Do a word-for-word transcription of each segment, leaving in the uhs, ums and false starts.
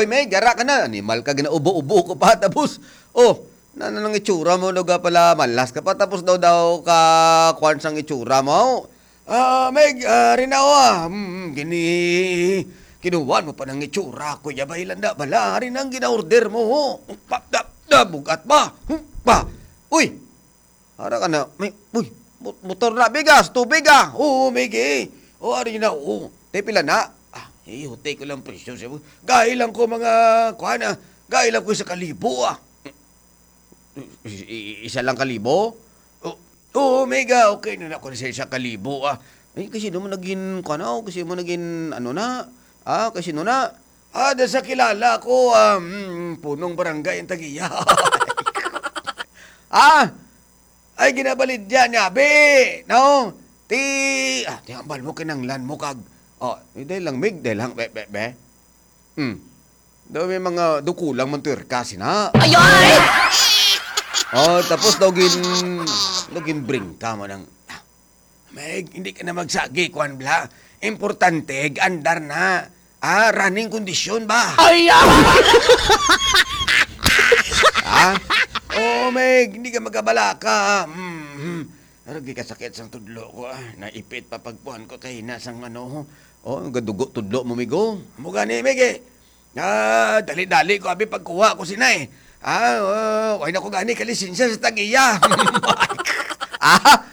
Uy, Meg, ara ka na. Animal ka, ginaubo-ubo ko pa. Tapos, oh, na, na nang itsura mo, daw ka pala, malas ka pa. Tapos daw, daw ka, kwan sang itsura mo. Ah, Meg, ah, rinawa. Hmm, gini, kinuha mo pa ng itsura, Kuya Baylanda. Bala, rin ang gina-order mo, ho. Pa, da, da, bugat ba? Hmm, pa. Uy, ara ka na, may, uy, mo-, motor na, bigas, tubig ah. Oo, may gi. O, ari na, oo. Te, pila na? Ah, eh, hote ko lang presyo siya. Gahi lang ko mga, kuha na, gahi lang ko sa kalibo ah. I-, i-, isa lang kalibo? O, oo, mega, okay na na ko sa isa kalibo ah. Ay, kasi naman naging, kuha na, kasi mo naging, ano na, ah, kasi no na, ah, da sa kilala ko, ah, mm, punong barangay ang tagiya. Ah, ay, ginabalidya niya, be, no? Ti, ah, ti, ambal mo, kinanglan mo, kag, oh, eh, dahil lang, Mig, dahil lang, be, be, be. Hmm. Daw may mga dukulang man tuwerka, sina. Ay, ay! Oh, tapos daw gin-, daw ginbring ka mo ng, ah, Meg, hindi ka na magsagi, kuwan, bla. Importante, andar na. Ah, running condition ba? Ay, ah! Ha? Oo, Meg, hindi ka magkabalaka. Mm, mm. Pero gikasakit sang tudlo ko, ah. Naipit pa pagkuhan ko kay na sang ano. Oh, gadugo tudlo mo, migo. Amo gani, Meg, eh. Ah, dali-dali ko abi pagkuha ko sina, eh. Ah, oh, wala na ko gani kalisensya sa tagiya. Ah,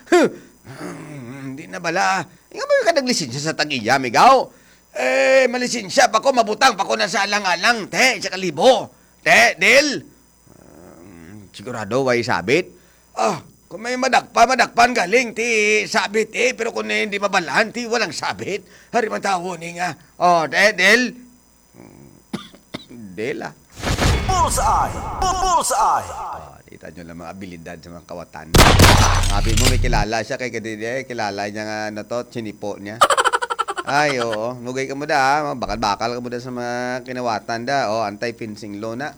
hindi na bala. Nga ba ka naglisensya sa tagiya, migaw? Eh, malisensya pa ko, mabutang pa ko na sa alang-alang, te, sa kalibo. Te, Del. Um, sigurado, way sabit. Ah, kung may madakpa, madakpan galing, ti sabit, eh. Pero kung hindi mabalaan, ti walang sabit. Hari man tawo ni nga. Oh, te, Del. Del, ah. Bullseye! Bu-, Bullseye! Ah, kita nyo lang mga abilidad sa mga kawatan. Sabi mo, may kilala siya kay kadidi, eh, kilala niya nga, ano to, sinipo niya. Ay, oo. Nugay ka mo da, ah. Bakal-bakal ka mo da sa mga kinawatan da. Oh, anti-fencing law na.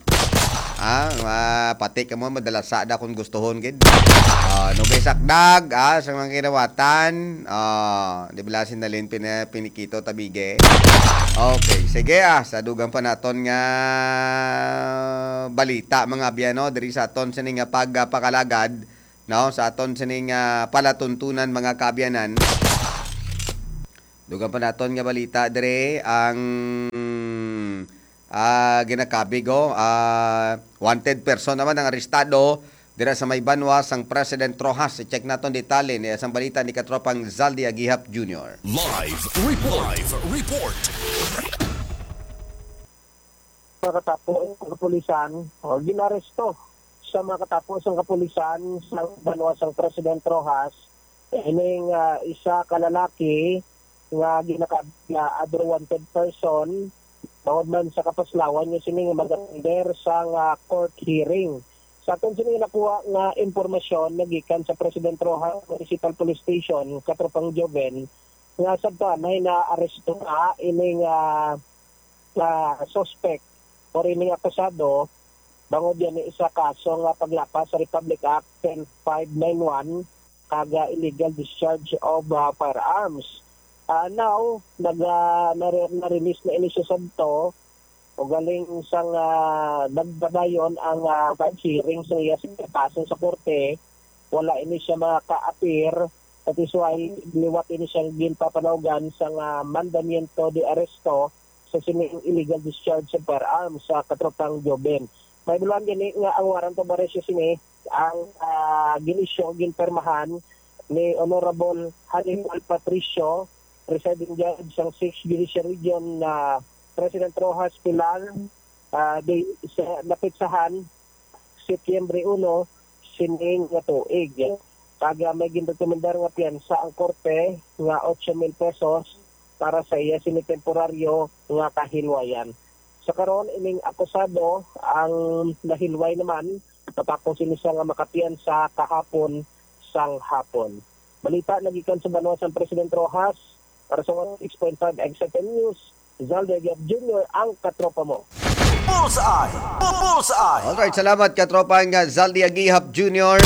Ah, ma-, pati ka mo, madalasa da kung gustuhon, gid. Ah, nugay sakdag, ah, sa mga kinawatan. Ah, di ba, sinalin pina-, pinikito, tabige? Okay, sige, ah, sa dugang pa naton nga balita, mga abyan, no, diri sa aton sini nga pagpakalagad, no, sa aton sini nga palatuntunan, mga kaabyanan. Dugang pa naton nga balita dire, ang, ah, ginakabig, oh, ah, wanted person naman ang arestado dira sa may banwa sang President Roxas. I-check naton detalye ni sang balita ni katropang Zaldi Agihap Junior. Live report. Live report. Mga katapo ang kapulisan, o, ginaresto sa mga katapo sang kapulisan sa banwa sang President Roxas, ining, ah, isa ka lalaki nga ginakabig nga other wanted person, tungod man sa kapaslawan niya sini nga mag-attender sang, ah, court hearing. Sa aton sini nakuha nga impormasyon nagikan sa President Roxas Municipal Police Station, Katropang Joven, nga sabta na naaresto na ining, ah, ah, suspect or ining akusado bangod yan sa kaso nga paglapas sa Republic Act ten five nine one kag, ah, illegal discharge of, ah, firearms. Ah, now, nag, ah, nare-, na-release na ini siya sadto, ugaling sang, ah, nagpadayon ang, ah, hearing sa iya sa kaso sa korte, wala ini siya maka-appear, that is why liwat ini siyang ginpapanawgan sang, ah, mandamiento de arresto sa sining illegal discharge sa firearms sa katropang Joven. May bulan gani nga ang warrant of arrest sini ang, ah, gin-issue, ginpirmahan ni Honorable Hannibal Patricio, Presiding Judge sang Sixth Judicial Region, na President Roxas Pilar, ah, di, sa napitsahan Setyembre uno, sining nga tuig. Kag, ah, may ginrekomendar nga piyansa ang korte nga ocho mil pesos para sa iya sini temporaryo nga kahilwayan. Sa karon, ining akusado ang nahilway naman matapos ini siya nga makapiyansa kahapon sang hapon. Balita nagikan sa banwa sang President Roxas, para sa one oh six point five X F M News, Zaldi Agihap Junior, ang katropa mo. Bullseye! Bu-, Bullseye! Alright, salamat, katropang, ah, Zaldi Agihap Junior.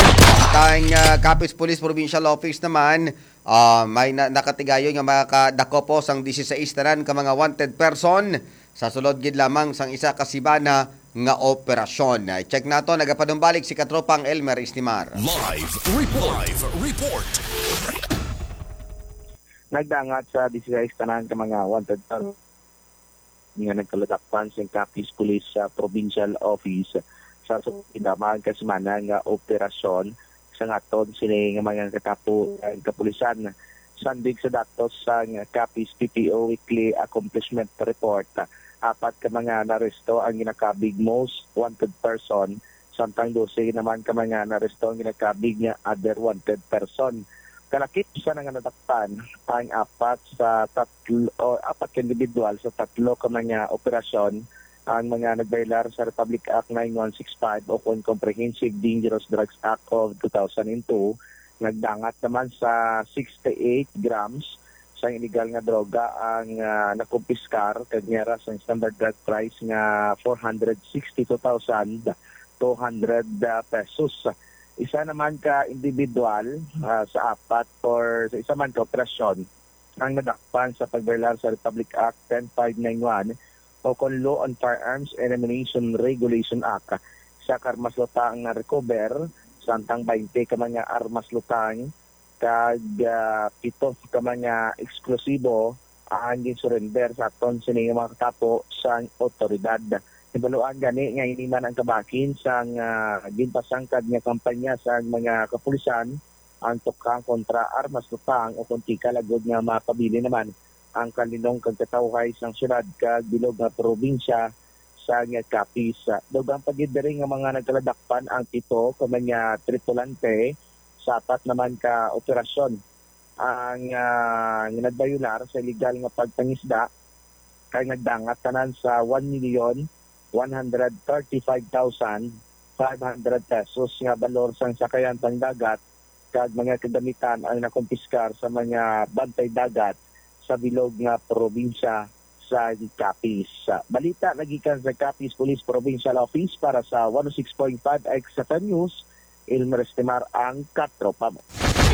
Tang, ah, Capiz Police Provincial Office naman, ah, may na-, nakatigayon nga makadakop sang dieciséis tanan ka mga wanted person sa sulod gid lamang sang isa ka simana nga operasyon. I-check nato, nagapanumbalik si Katropang Elmer Istimar. Live report. Live report. Nagdangat sa disguise tanan ka mga wanted target nga nagkaladakpan sa Capiz Police sa Provincial Office sa sulod lamang ka semana nga operasyon. Sa ngaton sini nga mga katapo ang kapulisan. Sandig sa datos sang Capiz P P O Weekly Accomplishment Report, apat ka mga naresto ang ginakabig most wanted person, samtang dose naman ka mga naresto ang ginakabig nga other wanted person. Kalakip sa nga nadakpan ang apat sa tatlo, o apat ka individual sa tatlo ka mga operasyon ang mga nagbaylar sa Republic Act nine one six five o kon Comprehensive Dangerous Drugs Act of two thousand and two. Nagdangat naman sa sixty-eight grams sa illegal nga droga ang, ah, nakumpiskar, kag niya ra sang standard drug price nga four hundred sixty-two thousand two hundred, ah, pesos. Isa naman ka individual, ah, sa apat or sa isa man ka operasyon ang nadakpan sa pagbaylar sa Republic Act ten five nine one o kon Law on Firearms and Ammunition Regulation Act. Sa karmas lutang na recover, samtang twenty ka mga armas lutang kag, ah, pito ka mga eksplosibo ang ginsurrender sa aton sini nga mga katapo sang otoridad. Hibaluan gani nga ini man ang kabahin sang, ah, ginpasangkad nga kampanya sang mga kapulisan ang tukang kontra armas lutang o kon tikal agud nga mapabilin naman ang kalinong kag katawhay sang syudad kag bilog nga probinsya sang Capiz. Dugang pa gid diri nga mga nagkaladakpan ang pito ka mga tripulante sa apat naman ka operasyon ang, ah, nga nagbayular sa illegal nga pagpangisda kay nagdangat tanan sa one million one hundred thirty-five thousand five hundred pesos nga balor sang sakayan sang dagat kag mga kagamitan ang nakumpiskar sa mga bantay dagat sa bilog nga probinsya sa Capiz. Balita nagikan sa Capiz Police Provincial Office para sa one oh six point five X F M News, Elmer Estimar ang katropa mo.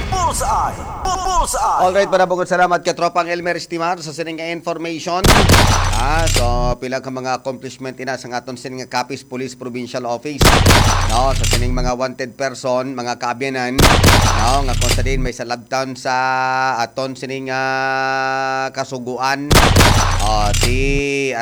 Bullseye! Bullseye! Alright, para bukod salamat ka tropang Elmer Estimar sa sining nga information. Ah, so pila ka mga accomplishment ina sa aton sining nga Capiz Police Provincial Office. No, sa sining mga wanted person, mga kaabyanan, no, nga kung sa din may salabtan sa aton sining, ah, kasuguan. Oh, di